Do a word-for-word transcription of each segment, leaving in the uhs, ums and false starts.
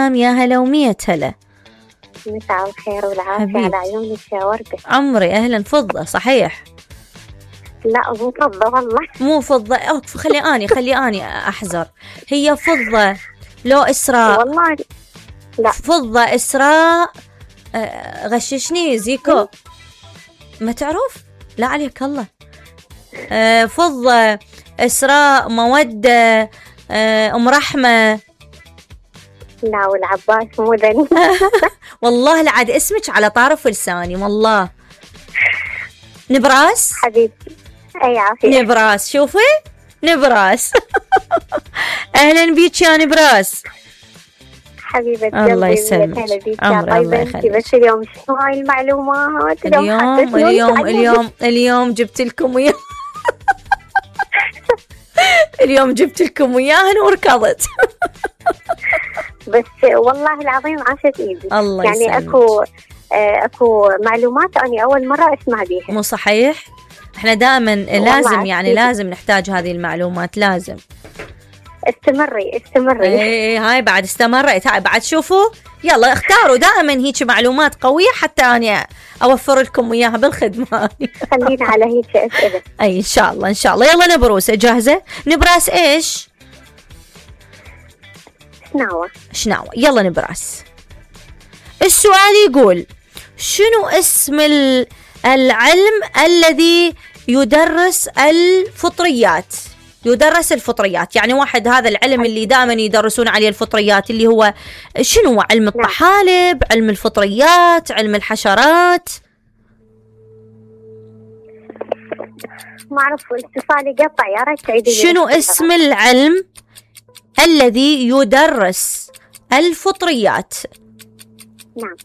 السلام، يا هلا ومية هلا. مساء الخير والعافية على عيونك يا وردة. عمري أهلا. فضة صحيح؟ لا مو فضة والله. مو فضة. أوك خلي أني خلي أني أحذر. هي فضة لو إسراء؟ والله لا. فضة إسراء. آه غششني زيكو. ما تعرف؟ لا عليك الله. آه فضة إسراء مودة آه أم رحمة. لا والعباس مو ذني. والله العاد اسمك على طرف لساني والله. نبراس حبيبتي. أي عافية. نبراس شوفي نبراس. أهلا بيك يا نبراس. حبيبة الله يسلمك. عمر الله يخليك. بس اليوم شو هاي المعلومات؟ اليوم اليوم اليوم اليوم جبت لكم وياه. اليوم جبت لكم وياهن وركضت. بس والله العظيم عاشت ايدي. الله يعني يسلمك. اكو اكو معلومات اني اول مرة اسمع بيها. مو صحيح؟ احنا دائما لازم يعني لازم نحتاج هذه المعلومات. لازم استمري استمري. اي هاي بعد استمرت. هاي بعد شوفوا يلا اختاروا دائما هيك معلومات قوية حتى أنا أوفر لكم وياها بالخدمة. خلينا على هيك أسئلة. أي إن شاء الله إن شاء الله. يلا نبروس جاهزة؟ نبراس إيش؟ شناوة. شناوة. يلا نبراس. السؤال يقول شنو اسم العلم الذي يدرس الفطريات؟ يدرس الفطريات يعني واحد هذا العلم اللي دائما يدرسون عليه الفطريات اللي هو شنو هو؟ علم الطحالب، علم الفطريات، علم الحشرات. ما أعرف الاتصال قطع يا ريت تعيدي. شنو اسم العلم الذي يدرس الفطريات؟ نعم.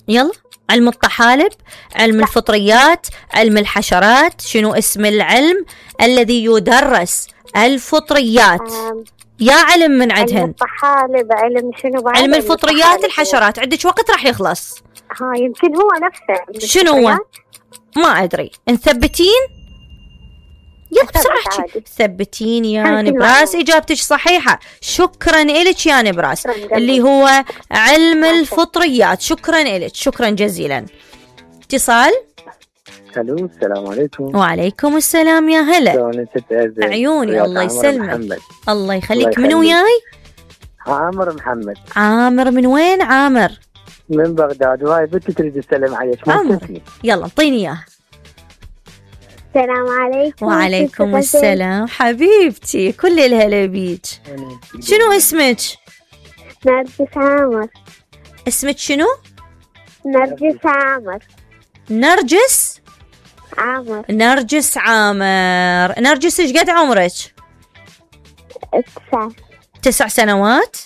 يلا. علم الطحالب، علم لا. الفطريات، علم الحشرات. شنو اسم العلم الذي يدرس الفطريات؟ أم. يا علم من عدهن. علم الطحالب، علم شنو بعد؟ علم الفطريات الحشرات. عندك وقت راح يخلص. ها يمكن هو نفسه. شنو هو؟ ما أدري. نثبتين؟ يلا بسرعة ثبتين يا نبراس. إجابتك صحيحة. شكرا إلك يا نبراس اللي هو علم الفطريات. شكرا إلك شكرا جزيلا. اتصال. الو السلام عليكم. وعليكم السلام يا هلا. عيوني الله يسلمك. الله يخليك. من وياي؟ عامر محمد. عامر من وين عامر؟ من بغداد. وهاي بنتي تريد تسلم عليك. عامر يلا انطيني اياه. السلام عليكم. وعليكم السلام حبيبتي. كل الهلا بيك. شنو اسمك؟ نرجس عامر. اسمك شنو؟ نرجس عامر. نرجس عامر. نرجس عامر. نرجس ايش قد عمرك؟ تسع. تسع سنوات؟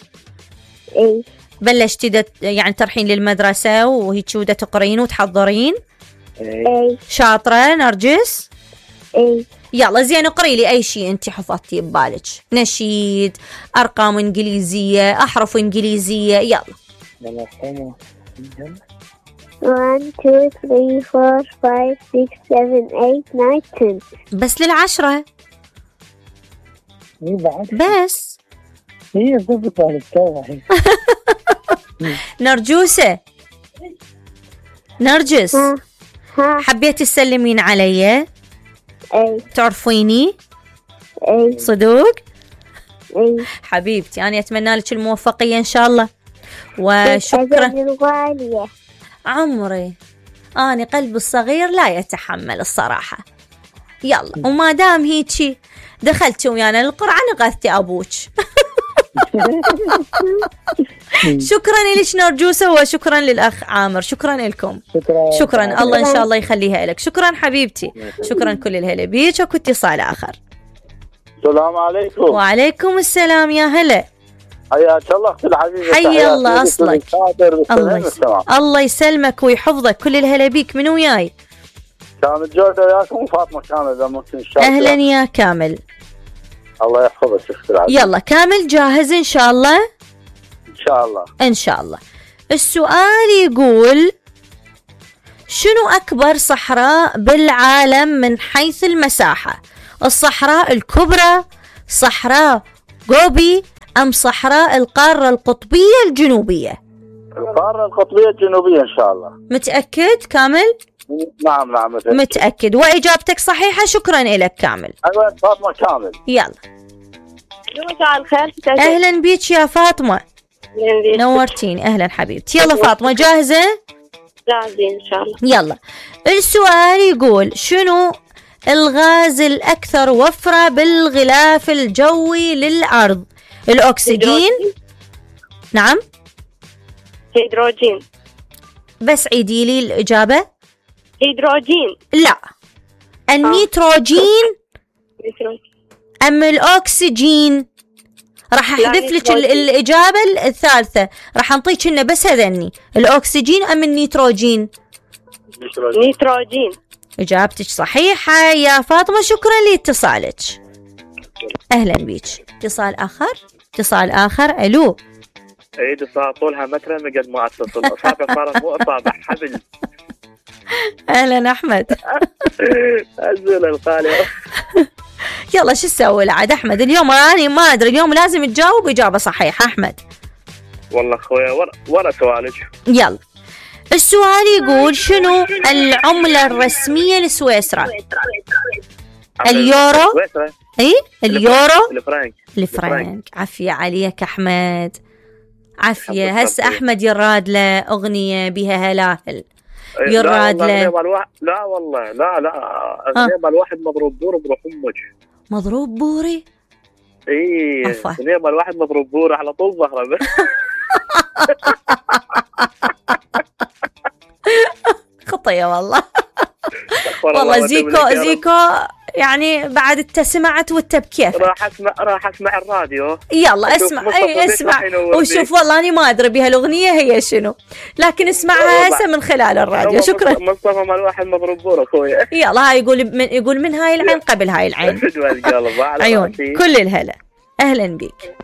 اي. بلشتي دت يعني تروحين للمدرسة وهيك ودا تقرين وتحضرين؟ اي. شاطرة نرجس؟ اي. يلا زين اقري لي اي شيء انت حفظتيه ببالك. نشيد، ارقام انجليزية، احرف انجليزية. يلا. واحد اثنين ثلاثة أربعة خمسة ستة سبعة ثمانية تسعة عشرة. بس للعشرة. بس هي ضبط على التوعي. نرجوسة نرجس ها. ها. حبيتي تسلمين علي؟ اي. تعرفيني؟ اي. صدوق؟ اي. حبيبتي أنا أتمنى لك الموفقية إن شاء الله. وشكرا. عمري أنا قلبي الصغير لا يتحمل الصراحة. يلا وما دام هيجي دخلتي ويانا للقرعة نغثتي أبوك. شكرا لك نرجوسة وشكرا للأخ عامر. شكرا لكم. شكرا. شكرا الله إن شاء الله يخليها لك. شكرا حبيبتي. شكرا كل الهلا بيك. وكنت اتصال آخر. السلام عليكم. وعليكم السلام يا هلا. حياك الله اختي الحبيبه. حي الله أصلك. الله يسلمك. الله يسلمك ويحفظك. كل الهلا بيك. من وياي؟ كامل جودة وياكم. فاطمة كامل إذا ممكن إن شاء الله. أهلا يا كامل. الله يحفظك اختي العزيزة. يلا كامل جاهز إن شاء الله؟ إن شاء الله. إن شاء الله. السؤال يقول شنو أكبر صحراء بالعالم من حيث المساحة؟ الصحراء الكبرى، صحراء غوبي، أم صحراء القارة القطبية الجنوبية؟ القارة القطبية الجنوبية إن شاء الله. متأكد كامل؟ نعم نعم متأكد. متأكد وإجابتك صحيحة. شكرا لك كامل. أيوة فاطمة كامل. يلا. مساء الخير. أهلا بيك يا فاطمة. نورتيني. أهلا حبيبتي. يلا فاطمة جاهزة؟ جاهزين إن شاء الله. يلا. السؤال يقول شنو الغاز الأكثر وفرة بالغلاف الجوي للأرض؟ الأكسجين. نعم. هيدروجين. بس عيدي لي الإجابة. هيدروجين. لا. النيتروجين أم الأكسجين؟ راح أحذف لك الإجابة الثالثة، راح أنطيك إنه بس هذني، الأكسجين أم النيتروجين؟ نيتروجين. إجابتك صحيحة يا فاطمة. شكرا لاتصالك. أهلا بيك. اتصال آخر. اتصال آخر. ألو. عيد الساعة طولها متر مقد ما أتصل. أصابع صارت مو أصابع حبل. أهلا أحمد. أزول الخالي. يلا شو تسوي عاد أحمد اليوم؟ أنا ما أدري اليوم لازم تجاوب إجابة صحيحة أحمد. والله أخويا ورا ورا سؤالك. يلا. السؤال يقول شنو العملة الرسمية لسويسرا؟ اليورو. اي اليورو. الفرنك. الفرنك. عافية عليك أحمد. عافية. هسه أحمد يراد له أغنية بها هلاهل. يراد له. لا والله لا لا غنيمة الواحد مضروب بور بروح أمك. مضروب بوري. اي غنيمة الواحد مضروب بور على طول ظهره. خطية والله. والله زيكو زيكو يعني بعد انت سمعت وانت بكيف. راح اسمع راح اسمع الراديو. يلا اسمع. اي اسمع وشوف. والله انا ما ادري بها الاغنيه هي شنو، لكن اسمعها هسه من خلال الراديو. شكرا. مصطفى مال واحد مضروب بور اخويا. يلا هاي يقول من يقول من هاي العين قبل هاي العين. عيون كل الهلا. اهلا بك.